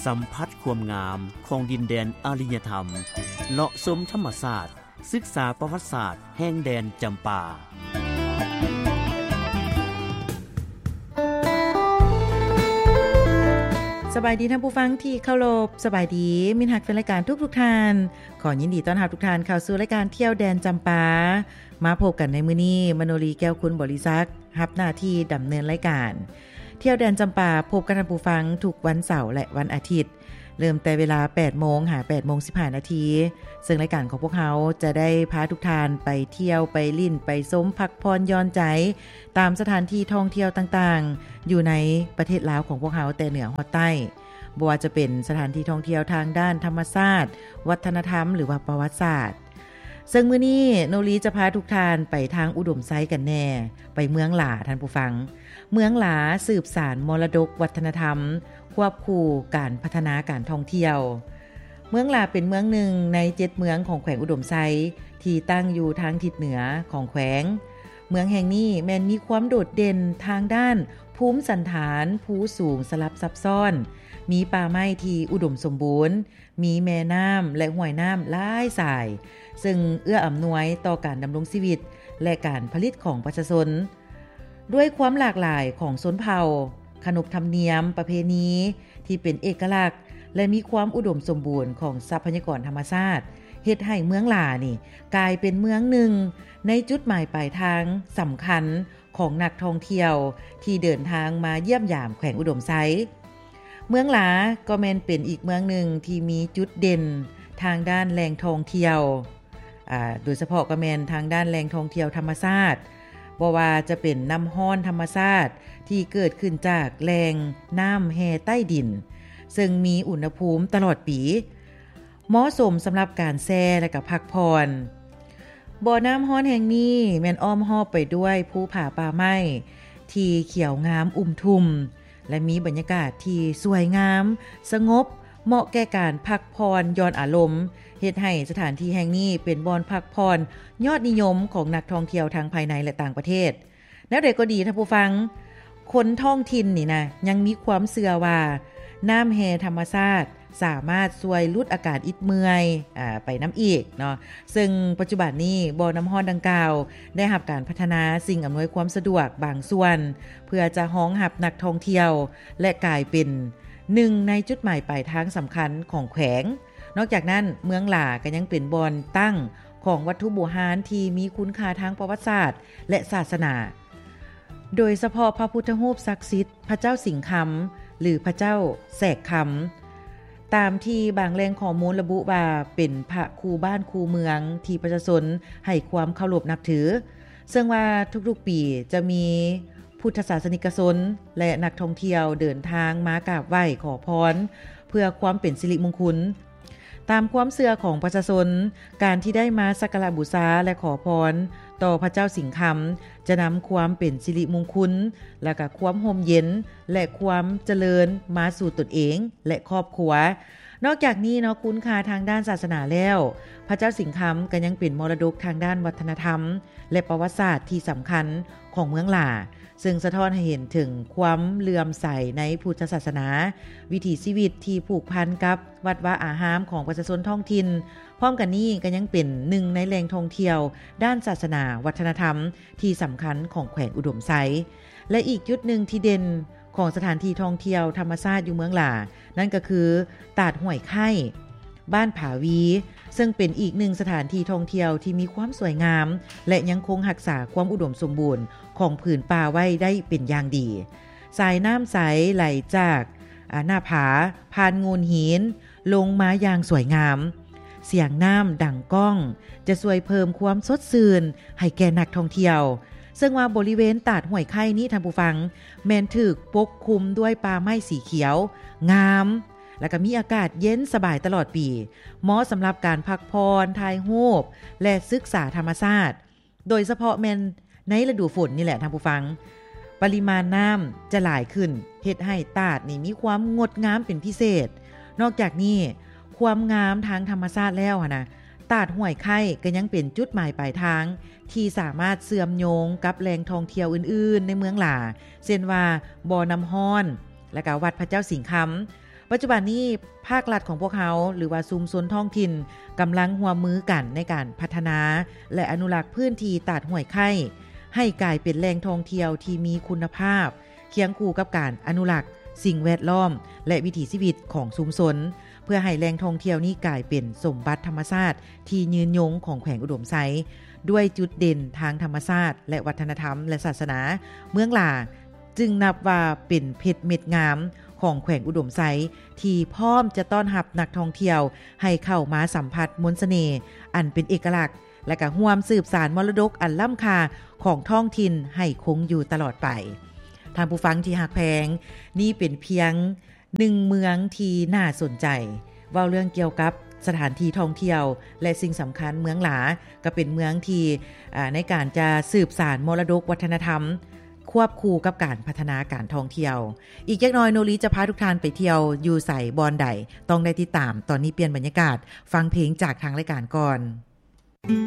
ສຳຜັດຄວາມງາມຂອງດິນແດນອາລິຍະທຳ, ເລາະຊົມທຳມະຊາດ, ສຶກສາປະຫວັດສາດແຫ່ງແດນຈຳປາ. ສະບາຍດີທ່ານຜູ້ຟັງທີ່ເຄົາລົບ, ສະບາຍດີມິດຮັກແຟນລາຍການທຸກໆທ່ານ. ຂໍຍິນດີຕ້ອນຮັບທຸກທ່ານເຂົ້າສູ່ລາຍການທ່ຽວແດນຈຳປາ. ມາພົບກັນໃນມື້ນີ້, ມະໂນລີ ແກ້ວຄຸນບໍລິສັກ ຮັບໜ້າທີ່ດຳເນີນລາຍການ. ທ່ຽວແດນຈຳປາ ພົບກັບທ່ານຜູ້ຟັງທຸກວັນເສົາ ແລະ ວັນອາທິດ, ເລີ່ມແຕ່ເວລາແປດໂມງຫາແປດໂມງສິບຫ້ານາທີ, ເຊິ່ງລາຍການຂອງພວກເຮົາຈະໄດ້ພາທຸກທ່ານໄປທ່ຽວ, ໄປຫຼິ້ນ, ໄປຊົມ, ພັກຜ່ອນຢ່ອນໃຈ ຕາມສະຖານທີ່ທ່ອງທ່ຽວຕ່າງໆ ຢູ່ໃນປະເທດລາວຂອງພວກເຮົາ ແຕ່ເໜືອຮອດໃຕ້, ບໍ່ວ່າຈະເປັນສະຖານທີ່ທ່ອງທ່ຽວທາງດ້ານທຳມະຊາດ, ວັດທະນະທຳ ຫຼືວ່າປະຫວັດສາດ. ເຊິ່ງມື້ນີ້ໂນລີຈະພາທຸກທ່ານໄປທາງອຸດົມໄຊກັນແດ່, ໄປເມືອງຫຼາທ່ານຜູ້ຟັງ. ເມືອງຫຼາສືບສານມໍລະດົກວັດທະນະທຳ, ຄວບຄູ່ການພັດທະນາການທ່ອງທ່ຽວ. ເມືອງຫຼາເປັນເມືອງໜຶ່ງໃນເຈັດເມືອງຂອງແຂວງອຸດົມໄຊ ທີ່ຕັ້ງຢູ່ທາງທິດເໜືອຂອງແຂວງ. ເມືອງແຫ່ງນີ້ແມ່ນມີຄວາມໂດດເດັ່ນທາງດ້ານພູມສັນຖານ, ພູສູງສະຫຼັບຊັບຊ້ອນ, ມີປ່າໄມ້ທີ່ອຸດົມສົມບູນ, ມີແມ່ນ້ຳ ແລະ ຫ້ວຍນ້ຳຫຼາຍສາຍ, ເຊິ່ງເອື້ອອຳນວຍຕໍ່ການດຳລົງຊີວິດ ແລະ ການຜະລິດຂອງປະຊາຊົນ. ດ້ວຍຄວາມຫຼາກຫຼາຍຂອງຊົນເຜົ່າ, ຂະໜົບທຳນຽມ, ປະເພນີທີ່ເປັນເອກະລັກ ແລະ ມີຄວາມອຸດົມສົມບູນຂອງຊັບພະຍາກອນທຳມະຊາດ ເຮັດໃຫ້ເມືອງຫຼານີ້ກາຍເປັນເມືອງໜຶ່ງໃນຈຸດໝາຍປາຍທາງສຳຄັນ ຂອງນັກທ່ອງທ່ຽວທີ່ເດີນທາງມາຢ້ຽມຢາມແຂວງອຸດົມໄຊ. ເມືອງຫຼາກໍແມ່ນເປັນອີກເມືອງໜຶ່ງທີ່ມີຈຸດເດັ່ນທາງດ້ານແຫຼ່ງທ່ອງທ່ຽວ, ອາ, ໂດຍສະເພາະກໍແມ່ນທາງດ້ານແຫຼ່ງທ່ອງທ່ຽວທຳມະຊາດ, ບໍ່ວ່າຈະເປັນນ້ຳຮ້ອນທຳມະຊາດທີ່ເກີດຂຶ້ນຈາກແຫຼ່ງນ້ຳແຮ່ໃຕ້ດິນ, ເຊິ່ງມີອຸນຫະພູມຕະຫຼອດປີ. ເໝາະສົມສຳລັບການແຊ່ ແລະ ກະພັກຜ່ອນ. ບໍ່ນ້ຳຮ້ອນແຫ່ງນີ້ແມ່ນອ້ອມຮອບໄປດ້ວຍພູຜາປ່າໄມ້ທີ່ຂຽວງາມອຸ່ມທຸ່ມ ແລະ ມີບັນຍາກາດທີ່ສວຍງາມ, ສະຫງົບ, ເໝາະແກ່ການພັກຜ່ອນຢ່ອນອາລົມ, ເຮັດໃຫ້ສະຖານທີ່ແຫ່ງນີ້ເປັນບ່ອນພັກຜ່ອນຍອດນິຍົມຂອງນັກທ່ອງທ່ຽວທັງພາຍໃນ ແລະ ຕ່າງປະເທດ. ແນວໃດກໍດີທ່ານຜູ້ຟັງ, ຄົນທ້ອງຖິ່ນນີ້ນະ ຍັງມີຄວາມເຊື່ອວ່ານ້ຳແຮ່ທຳມະຊາດສາມາດຊ່ວຍຫຼຸດອາການອິດເມື່ອຍ, ອາ, ໄປນຳອີກເນາະ. ເຊິ່ງປັດຈຸບັນນີ້ ບໍ່ນ້ຳຮ້ອນດັ່ງກ່າວໄດ້ຮັບການພັດທະນາສິ່ງອຳນວຍຄວາມສະດວກບາງສ່ວນ ເພື່ອຈະຮອງຮັບນັກທ່ອງທ່ຽວ ແລະ ກາຍເປັນໜຶ່ງໃນຈຸດໝາຍປາຍທາງສຳຄັນຂອງແຂວງ. ນອກຈາກນັ້ນ, ເມືອງຫຼາກໍຍັງເປັນບ່ອນຕັ້ງຂອງວັດຖຸບູຮານທີ່ມີຄຸນຄ່າທາງປະຫວັດສາດ ແລະ ສາສະໜາ, ໂດຍສະເພາະພະພຸດທະຮູບສັກສິດ ພະເຈົ້າສິງຄຳ ຫຼື ພະເຈົ້າແສກຄຳ, ຕາມທີ່ບາງແຫຼ່ງຂໍ້ມູນລະບຸວ່າເປັນພະຄູ່ບ້ານຄູ່ເມືອງທີ່ປະຊາຊົນໃຫ້ຄວາມເຄົາລົບນັບຖື. ເຊິ່ງວ່າທຸກໆປີຈະມີພຸດທະສາສະນິກະຊົນ ແລະ ນັກທ່ອງທ່ຽວເດີນທາງມາກາບໄຫວ້ຂໍພອນ ເພື່ອຄວາມເປັນສິລິມຸງຄຸນ. ຕາມຄວາມເຊື່ອຂອງປະຊາຊົນ, ການທີ່ໄດ້ມາສັກກາລະບູຊາ ແລະ ຂໍພອນຕໍ່ພະເຈົ້າສິງຄຳ ຈະນຳຄວາມເປັນສິລິມຸງຄຸນ ແລະ ກະຄວາມຮົ່ມເຢັນ ແລະ ຄວາມຈະເລີນມາສູ່ຕົນເອງ ແລະ ຄອບຄົວ. ນອກຈາກນີ້ເນາະ, ຄຸນຄ່າທາງດ້ານສາສະໜາແລ້ວ, ພະເຈົ້າສິງຄຳກໍຍັງເປັນມໍລະດົກທາງດ້ານວັດທະນະທຳ ແລະ ປະຫວັດສາດທີ່ສຳຄັນຂອງເມືອງຫຼາ. ເຊິ່ງສະທ້ອນໃຫ້ເຫັນເຖິງຄວາມເຫຼື້ອມໃສໃນພຸດທະສາສະໜາ, ວິຖີຊີວິດທີ່ຜູກພັນກັບວັດວາອາຮາມຂອງປະຊາຊົນທ້ອງຖິ່ນ. ພ້ອມກັນນີ້ກໍຍັງເປັນໜຶ່ງໃນແຫຼ່ງທ່ອງທ່ຽວດ້ານສາສະໜາວັດທະນະທຳທີ່ສຳຄັນຂອງແຂວງອຸດົມໄຊ. ແລະ ອີກຈຸດໜຶ່ງທີ່ເດັ່ນຂອງສະຖານທີ່ທ່ອງທ່ຽວທຳມະຊາດຢູ່ເມືອງຫຼາ ນັ້ນກໍຄືຕາດຫ້ວຍໄຄ້ ບ້ານຜາວີ, ເຊິ່ງເປັນອີກໜຶ່ງສະຖານທີ່ທ່ອງທ່ຽວທີ່ມີຄວາມສວຍງາມ ແລະ ຍັງຄົງຮັກສາຄວາມອຸດົມສົມບູນຂອງຜືນປ່າໄວ້ໄດ້ເປັນຢ່າງດີ. ສາຍນ້ຳໃສໄຫຼຈາກ ອາ ໜ້າຜາ ຜ່ານໂງ່ນຫີນ ລົງມາຢ່າງສວຍງາມ. ສຽງນ້ຳດັງກ້ອງຈະຊ່ວຍເພີ່ມຄວາມສົດຊື່ນໃຫ້ແກ່ນັກທ່ອງທ່ຽວ. ເຊິ່ງວ່າບໍລິເວນຕາດຫ້ວຍໄຄ້ນີ້, ທ່ານຜູ້ຟັງ, ແມ່ນຖືກປົກຄຸມດ້ວຍປ່າໄມ້ສີຂຽວງາມ ແລະ ກໍມີອາກາດເຢັນສະບາຍຕະຫຼອດປີ, ເໝາະສຳລັບການພັກຜ່ອນ, ຖ່າຍຮູບ ແລະ ສຶກສາທຳມະຊາດ, ໂດຍສະເພາະແມ່ນໃນລະດູຝົນນີ້ແຫຼະທ່ານຜູ້ຟັງ. ປະລິມານນ້ຳຈະຫຼາຍຂຶ້ນ, ເຮັດໃຫ້ຕາດນີ້ມີຄວາມງົດງາມເປັນພິເສດ. ນອກຈາກນີ້, ຄວາມງາມທາງທຳມະຊາດແລ້ວຫັ້ນນະ, ຕາດຫ້ວຍໄຄ້ກໍຍັງເປັນຈຸດໝາຍປາຍທາງທີ່ສາມາດເຊື່ອມໂຍງກັບແຫຼ່ງທ່ອງທ່ຽວອື່ນໆໃນເມືອງຫຼາ, ເຊັ່ນວ່າ ບໍ່ນ້ຳຮ້ອນ ແລະ ກະວັດພະເຈົ້າສິງຄຳ. ປັດຈຸບັນນີ້ພາກລັດຂອງພວກເຮົາ ຫຼືວ່າຊຸມຊົນທ້ອງຖິ່ນ ກຳລັງຮ່ວມມືກັນໃນການພັດທະນາ ແລະ ອະນຸລັກພື້ນທີ່ຕາດຫ້ວຍໄຄ້ ໃຫ້ກາຍເປັນແຫຼ່ງທ່ອງທ່ຽວທີ່ມີຄຸນນະພາບ ຄຽງຄູ່ກັບການອະນຸລັກສິ່ງແວດລ້ອມ ແລະ ວິຖີຊີວິດຂອງຊຸມຊົນ ເພື່ອໃຫ້ແຫຼ່ງທ່ອງທ່ຽວນີ້ກາຍເປັນສົມບັດທຳມະຊາດທີ່ຍືນຍົງຂອງແຂວງອຸດົມໄຊ ດ້ວຍຈຸດເດັ່ນທາງທຳມະຊາດ ແລະ ວັດທະນະທຳ ແລະ ສາສະໜາ. ເມືອງຫຼາ ຈຶ່ງນັບວ່າເປັນເພັດເມັດງາມຂອງແຂວງອຸດົມໄຊ ທີ່ພ້ອມຈະຕ້ອນຮັບນັກທ່ອງທ່ຽວໃຫ້ເຂົ້າມາສຳຜັດມົນສະເໜ່ອັນເປັນເອກະລັກ ແລະ ກະຮ່ວມສືບສານມໍລະດົກອັນລ້ຳຄ່າຂອງທ້ອງຖິ່ນໃຫ້ຄົງຢູ່ຕະຫຼອດໄປ. ທ່ານຜູ້ຟັງທີ່ຮັກແພງ, ນີ້ເປັນພຽງໜຶ່ງເມືອງທີ່ໜ້າສົນໃຈ. ເວົ້າເລື່ອງກ່ຽວກັບສະຖານທີ່ທ່ອງທ່ຽວ ແລະ ສິ່ງສຳຄັນ ເມືອງຫຼາ ກໍເປັນເມືອງທີ່ ອາ ໃນການຈະສືບສານມໍລະດົກວັດທະນະທຳ ຄວບຄູ່ກັບການພັດທະນາການທ່ອງທ່ຽວ. ອີກຈັກໜ່ອຍ ໂນລີຈະພາທຸກທ່ານໄປທ່ຽວຢູ່ໃສ ບ່ອນໃດ ຕ້ອງໄດ້ຕິດຕາມ. ຕອນນີ້ປ່ຽນບັນຍາກາດ ຟັງເພງຈາກທາງລາຍການກ່ອນ.